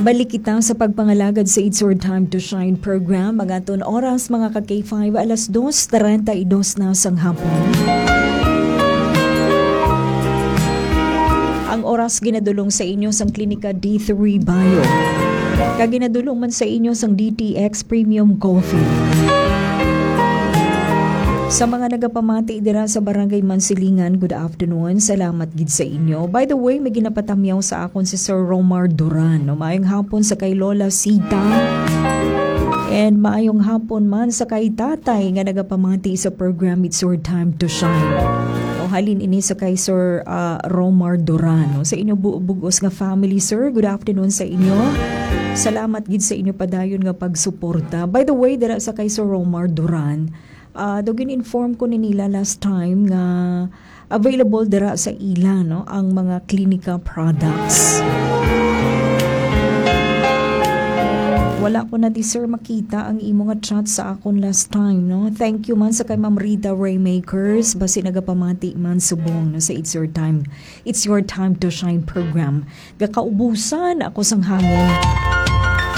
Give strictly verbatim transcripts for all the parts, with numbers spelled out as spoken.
Balik kita sa pagpangalagad sa It's Your Time to Shine program. Ang aton oras, mga ka K five, alas dos treinta y dos na sang hapon. Ang oras ginadulong sa inyo sang Klinika D three Bio. Kag ginadulong man sa inyo sang D T X Premium Coffee. Sa mga nagapamati dira sa Barangay Mansilingan, good afternoon. Salamat gid sa inyo. By the way, may ginapatamyaw sa akon si Sir Romar Duran, no? Maayong hapon sa kay Lola Sita. And maayong hapon man sa kay Tatay nga nagapamati sa program It's Your Time to Shine. O, halin ini sa kay Sir, ah, Romar Duran, no? Sa inyo bu-, bugos nga family, sir, good afternoon sa inyo. Salamat gid sa inyo padayon nga pagsuporta. By the way, dira sa kay Sir Romar Duran, ah, daw gin-inform ko ni nila last time nga available dira sa ila, no, ang mga Klinika products. Wala ko na di, sir, makita ang imo nga chat sa akon last time, no? Thank you man sa kay Ma'am Rita Raymakers, basi nagapamati man subong, no, sa It's Your Time, It's Your Time to Shine program. Gakaubusan ako sang hangin.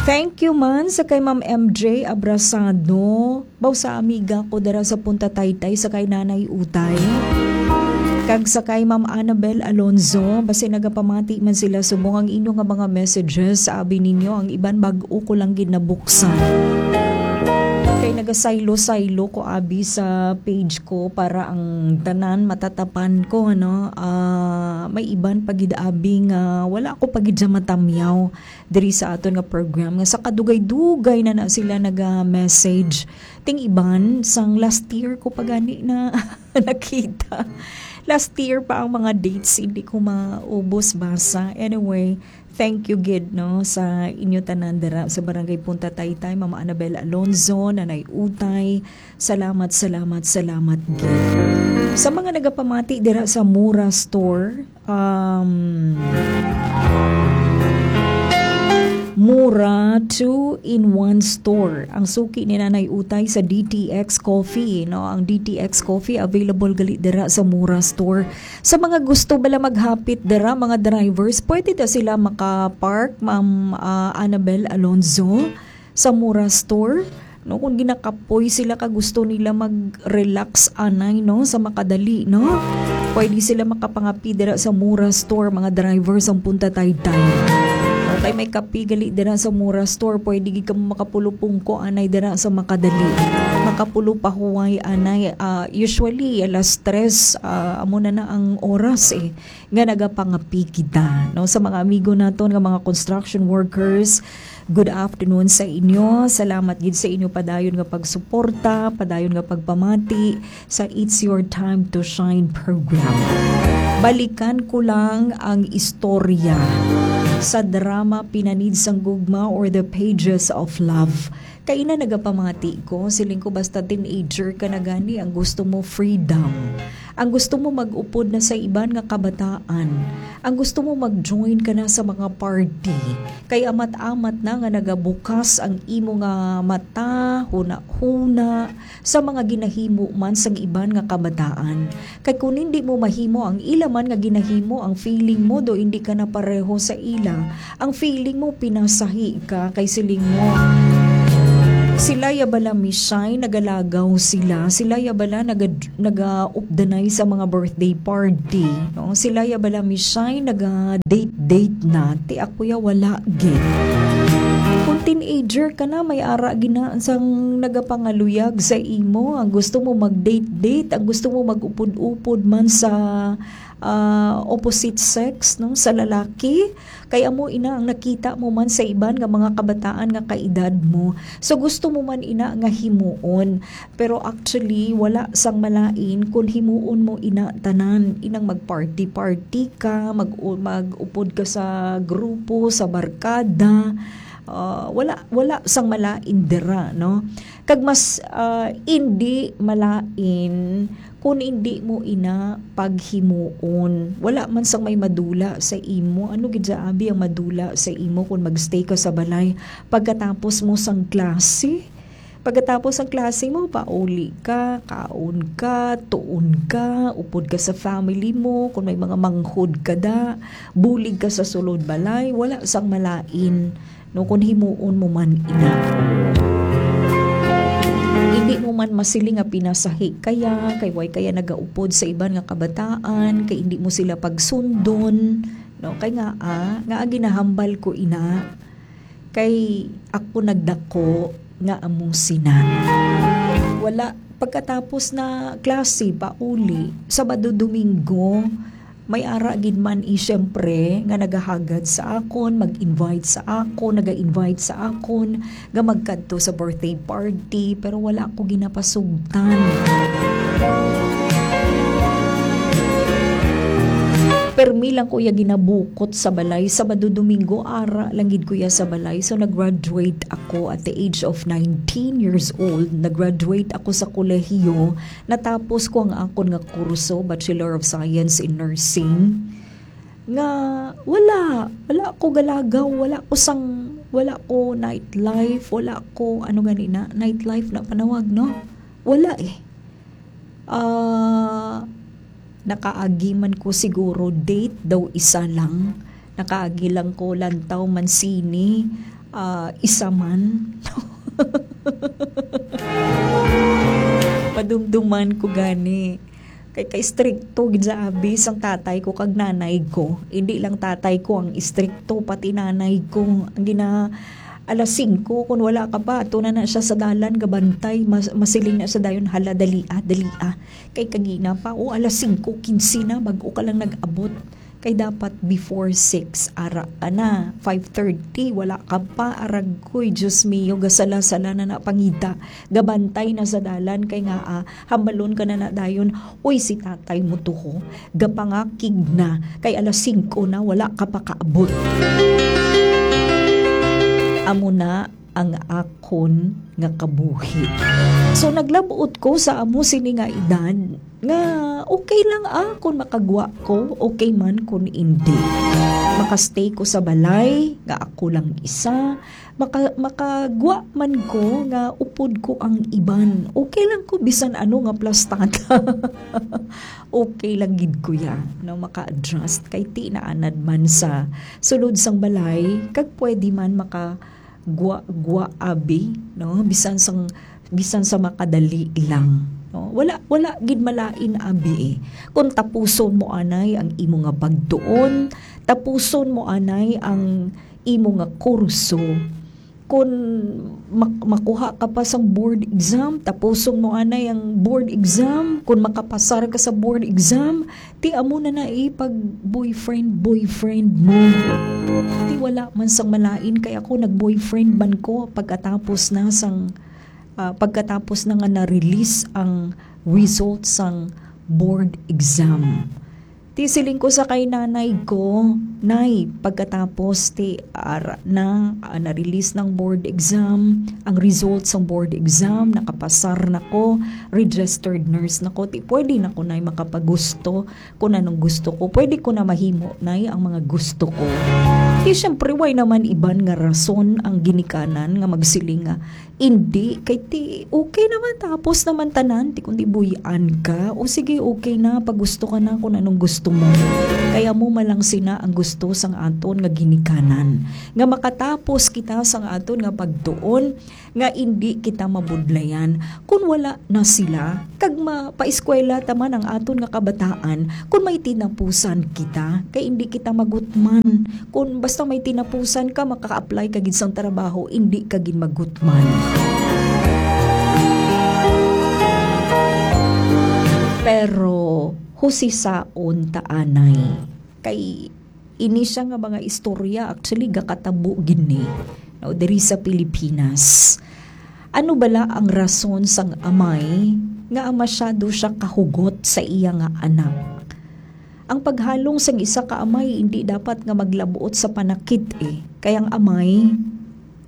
Thank you man sa kay Ma'am M J Abrasado. Baw sa amiga ko dira sa Punta Taytay sa kay Nanay Utay. Kag sa kay Ma'am Annabel Alonzo, basi nagapamati man sila subong ang inyo nga mga messages, abi ninyo, ang iban bag-o ko lang gid nabuksan. Kay nagasaylo-saylo ko abi sa page ko para ang tanan matatapan ko, ano. Ah, may iban pa gid abi nga wala ko pa gid siya matamyaw diri sa aton nga program, nga sa kadugay-dugay na na sila naga-message. Ting iban, sang last year ko pa gani na nakita. Last year pa ang mga dates, hindi ko maubos basa. Anyway, thank you gid, no, sa inyo tanan dira sa Barangay Punta Taytay, Mama Annabel Alonzo, Nanay Utay. Salamat, salamat, salamat gid. Sa mga nagapamati dira sa Mura Store, um, Mura two-in-one Store. Ang suki ni Nanay Utay sa D T X Coffee, no? Ang D T X Coffee available gali dira sa Mura Store. Sa mga gusto bala maghapit dira, mga drivers, pwede da sila maka-park, Ma'am, ah, Annabel Alonzo, sa Mura Store, no? Kung ginakapoy sila ka gusto nila mag-relax anay, no, sa makadali, no? Pwede sila makapangapi dira sa Mura Store, mga driver sang Punta Taytay. Okay, may kapi gali dira sa Mura Store, pwede gid kamo makapulupungko anay dira sa makadali. Makapulupahuway anay, ah, usually alas tres, ah, amo na na ang oras, eh, nga nagapangapi kita, no? Sa mga amigo naton nga mga construction workers, good afternoon sa inyo. Salamat gid sa inyo padayon nga pagsuporta, padayon nga pagpamati sa It's Your Time to Shine program. Balikan ko lang ang istorya sa drama Pinanid sang Gugma or The Pages of Love. Kay ina nagapamati ko, siling ko, basta teenager ka na gani, ang gusto mo freedom. Ang gusto mo mag-upod na sa iban nga kabataan. Ang gusto mo mag-join ka na sa mga party. Kay amat-amat na nga nagabukas ang imo nga mata, huna-huna, sa mga ginahimo man sang iban nga kabataan. Kay kung hindi mo mahimo ang ila man nga ginahimo, ang feeling mo do hindi ka na pareho sa ila. Ang feeling mo, pinasahi ka kay siling mo, "Sila ya bala, Miss Shine, nagalagaw sila. Sila ya bala naga-, nagaupdanay sa mga birthday party, no? Sila ya bala, Miss Shine, naga-date-date na. Ti ako ya wala gid." Kung teenager ka na, may ara gina sang nagapangaluyag sa imo. Ang gusto mo mag-date-date, ang gusto mo mag-upod-upod man sa, ah, opposite sex, no, sa lalaki. Kay amo ina ang nakita mo man sa iban nga mga kabataan nga kaedad mo. So, gusto mo man ina nga himuon. Pero actually, wala sang malain kung himuon mo ina tanan. Inang mag-party-party ka, mag-, mag-upod ka sa grupo, sa barkada. Ah, wala, wala sang malain dira, no? Kag mas, ah, indi malain kung indi mo ina paghimuon. Wala man sang may madula sa imo. Ano gid sa abi ang madula sa imo kung magstay ka sa balay pagkatapos mo sang klase? Pagkatapos ang klase mo, pauli ka, kaon ka, tuon ka, upod ka sa family mo, kung may mga manghod ka da, bulig ka sa sulod balay, wala sang malain, no, kung himuon mo man ina. Hindi mo man masiling nga pinasahi kaya, kay way kaya nagaupod sa iban nga kabataan, kay hindi mo sila pagsundon, no, kay nga, ah, nga ginahambal ko ina, kay ako nagdako nga amo sina. Wala, pagkatapos na klase, pauli, Sabado, Domingo, may ara gid man i, siyempre, nga nagahagad sa akon, mag-invite sa akon, naga-invite sa akon, nga magkadto sa birthday party, pero wala ko ginapasugtan. Permi lang ko ya ginabukot sa balay. Sabado, Domingo, ara lang gid ko ya sa balay. So, nag-graduate ako at the age of nineteen years old. Nag-graduate ako sa kolehiyo. Natapos ko ang akon nga kurso, Bachelor of Science in Nursing. Nga, wala. Wala ko galagaw. Wala ko sang, wala ko nightlife. Wala ko, ano gani na, nightlife na panawag, no? Wala eh. Ah, nakaagi man ko siguro date daw isa lang. Nakaagi lang ko lantaw man sini, ah, isa man. Padumduman ko gani. Kay, kay strikto gid sa abi sang tatay ko kag nanay ko. Hindi lang tatay ko ang istrikto, pati nanay ko. Ang gina-, alas singko, kung wala ka pa, ato na na siya sa dalan, gabantay, mas-, masiling na siya dayon, "Hala, dali ah, dali ah." Kay kagina pa, o, alas singko kinse na, bag-o ka lang nag-abot. Kay dapat before six, ara ka na. Five thirty, wala ka pa, aragkoy, Diyos mio, gasala-sala na na pangita. Gabantay na sa dalan, kay nga, ah, hambalon ka na na dayon, "Uy, si tatay mo to, ho. Gapangakig na, kay alas singko na, wala ka pa kaabot." Amo na ang akon nga kabuhi. So, naglabot ko sa amo sini nga edad nga okay lang, ah, kung makagwa ko, okay man kung hindi. Makastay ko sa balay nga ako lang isa, maka-, makagwa man ko nga upod ko ang iban. Okay lang ko bisan ano nga plastata. Okay lang gid ko ya, no, maka-adjust kay ti naanad man sa sulod sang balay, kag pwede man maka gwa-, gwa abi, no? Bisan sang, bisan sa makadali lang, no? Wala, wala gid malain abi eh. Kung tapuson mo anay ang imo nga pagtuon, tapuson mo anay ang imo nga kurso, kung mak-, makuha ka pa sang board exam, tapuson mo anay ang board exam, kung makapasar ka sa board exam, ti amo na na eh, pag boyfriend, boyfriend mo. Ti wala man sang malain, kay ako nag-boyfriend man ko pagkatapos na sang, ah, pagkatapos na nga na-release ang result sang board exam. Ti siling ko sa kay nanay ko, "Nay, pagkatapos ti ara na, ah, na-release ng board exam, ang result sang board exam, nakapasar na ko, registered nurse na ko, ti pwede na ko, Nay, makapagusto kung anong gusto ko. Pwede ko na mahimo, Nay, ang mga gusto ko." Ti, syempre, way naman iban nga rason ang ginikanan nga magsiling nga, "Indi, kay ti, okay naman, tapos naman tanan, ti kundi buy-an ka. O sige, okay na, pagusto ka na kung anong gusto mo." Kaya mo malang sina ang gusto sang aton nga ginikanan. Nga makatapos kita sang aton nga pagtuon, nga indi kita mabudlayan kun wala na sila, kag mapaeskwela ta man ang aton nga kabataan kun may tinapusan kita, kay indi kita magutman. Kun basta may tinapusan ka, makaka-apply ka gid sang trabaho, indi ka gid magutman. Pero husisaon ta anay, kay ini siya nga mga istorya, actually, gakatabo gid ni, no, diri sa Pilipinas. Ano bala ang rason sang amay nga masyado siya kahugot sa iya nga anak? Ang paghalong sang isa ka amay hindi dapat nga maglabot sa panakit, eh. Kay ang amay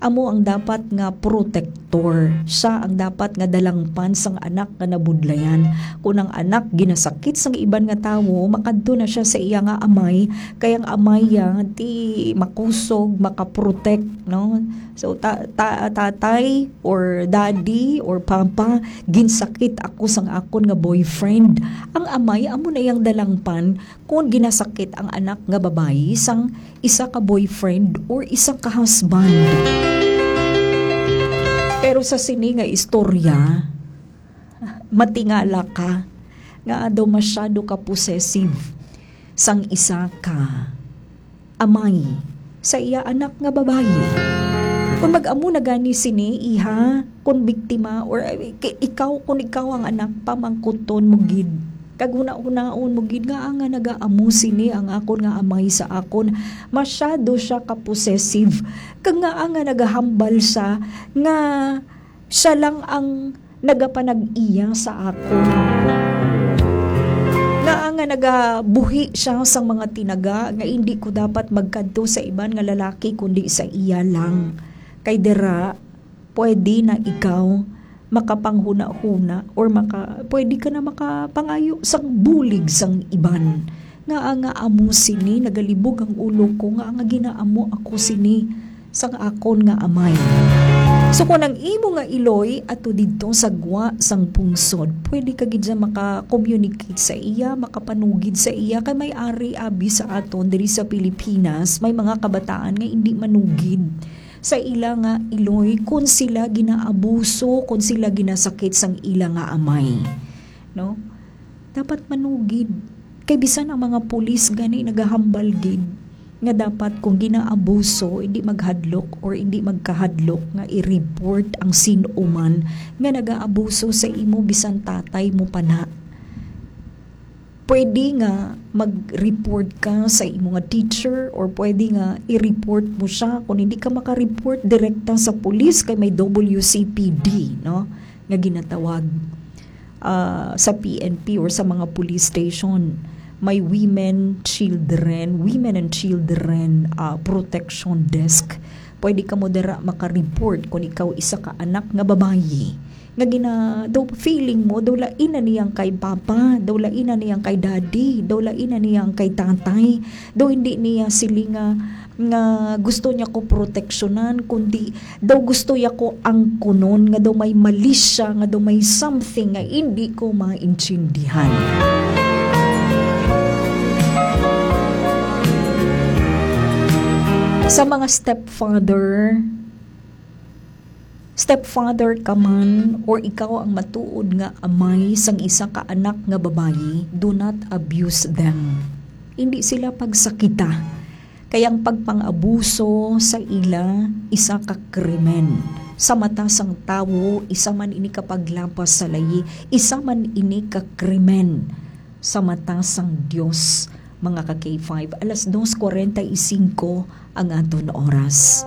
amo ang dapat nga protektor. protector. Siya ang dapat nga dalangpan sang anak nga nabudlayan. Kung ang anak ginasakit sang iban nga tawo, makadto na siya sa iya nga amay, kay ang amay ya ti makusog, makaprotect, no? So, ta-, ta-, tatay or daddy or papa, ginsakit ako sang akon nga boyfriend. Ang amay amo na yang dalangpan kon ginasakit ang anak nga babayi sang isa ka boyfriend or isa ka husband. Pero sa sini nga istorya, matingala ka nga daw masyado ka possessive sang isa ka amay sa iya anak nga babayi. Kung mag-amo na gani sini, iha, kung biktima, or, eh, ki-, ikaw, kung ikaw ang anak, pamangkuton mo gid. Kag hunahunaon mo gid nga nga nagaamo sini ang akon nga amay sa akon. Masyado siya ka-possessive. Kag nga nga nagahambal siya nga siya lang ang nagapanag-iya sa akon. Nga nga nagabuhi siya sang mga tinaga nga indi ko dapat magkadto sa iban nga lalaki kundi sa iya lang. Kay dira, pwede na ikaw makapanghuna-huna or maka-, pwede ka na makapangayo sang bulig sang iban. Nga nga amo sini, nagalibog ang ulo ko, nga nga ginaamo ako sini sang akon nga amay. So, kung ang imo nga iloy ato didto sa gwa sang pungsod, pwede ka gid siya maka-communicate sa iya, makapanugid sa iya, kay may ari abi sa aton diri sa Pilipinas, may mga kabataan nga indi manugid sa ila nga iloy kung sila ginaabuso, kung sila ginasakit sang ila nga amay, no? Dapat manugid. Kay bisan ang mga pulis gani nagahambal gid nga dapat kung ginaabuso, hindi maghadlok or hindi magkahadlok nga i-report ang sin-o man nga nagaabuso sa imo, bisan tatay mo pa na. Pwede nga mag-report ka sa imo nga teacher, or pwede nga i-report mo siya. Kung hindi ka maka-report direkta sa pulis, kay may W C P D, no, nga ginatawag, ah, sa P N P or sa mga police station. May women, children, women and children, ah, protection desk. Pwede ka mo dira maka-report kung ikaw isa ka anak nga babayi nga gina-, daw feeling mo, daw lain na niyang kay papa, daw lain na niyang kay daddy, daw lain na niyang kay tatay, daw hindi niya sili nga, nga gusto niya ko proteksyonan, kundi daw gusto niya ko angkunon, nga daw may mali siya, nga daw may something nga hindi ko maintindihan. Sa mga stepfather, stepfather ka man, or ikaw ang matuod nga amay sang isa ka anak nga babayi, do not abuse them. Hindi sila pagsakita. Kay ang pagpang-abuso sa ila, isa ka krimen. Sa mata sang tawo, isa man ini ka paglapas sa layi, isa man ini ka krimen. Sa mata sang Dios, mga ka K five, alas dos cuarenta y cinco ang aton oras.